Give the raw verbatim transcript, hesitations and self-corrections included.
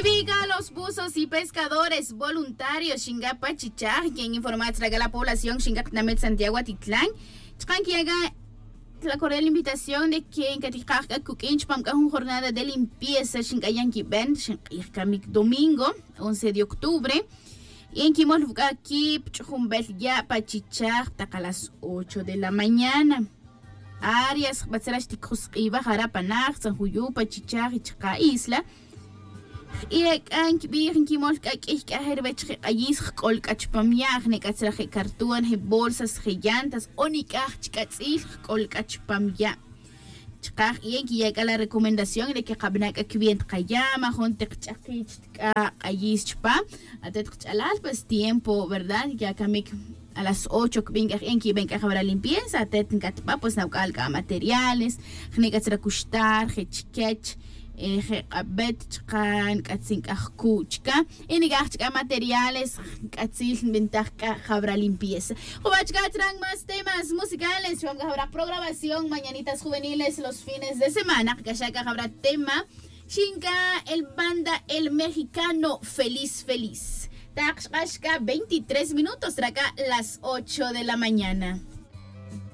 Viga los buzos y pescadores voluntarios xinga pa chichaj quien informat raga la población xinga tinamit santiago atitlán. Chaqan que yaga la cordial invitación de quien caticaj c'a cuq'uin chupam c'a jun jornada de limpieza xinc'ayan quiben xink'ij camic domingo once de octubre. Y en quimol vuc'a quip ch'ujumbel ya' pa chichaj tak a las ocho de la mañana. Arias jbatzra xticusk'iva jara' pa naj tzan juyu' pa chichaj y chaka' isla. Jk'ia' k'a nkibij nkimol k'a k'iy k'a je' ruwech je' q'ayis jk'ol k'a chupam ya' jne' k'a tzra je' cartón je' bolsas je' llantas o nik'aj chik'atz'il jk'ol k'a chupam ya'. Chaka' jk'ia' nkiya' k'a la recomendación re que qabana' k'a kiwenta qayama jun teq ch'akich k'a q'ayis chupa. Atet qach'alal pues tiempo verdad ya kamik a las ocho kibin k'a je' nkiben k'a jawara limpieza atet nkatba pues nawk'al k'a materiales jne' k'a tzra kuxtar je' chikech je' q'abet chaka' nk'atzin k'a jku' chaka' y nik'aj chaka' materiales nk'atzil nbintaj k'a jawara limpieza. Juba' chaka' tzra más temas musicales chupam k'a jawara programación mañanitas juveniles los fines de semana qak'axa' k'a jawara tema. Xinka el banda el mexicano feliz feliz. Tak xk'ax k'a veintitrés minutos rak'a las ocho de la mañana.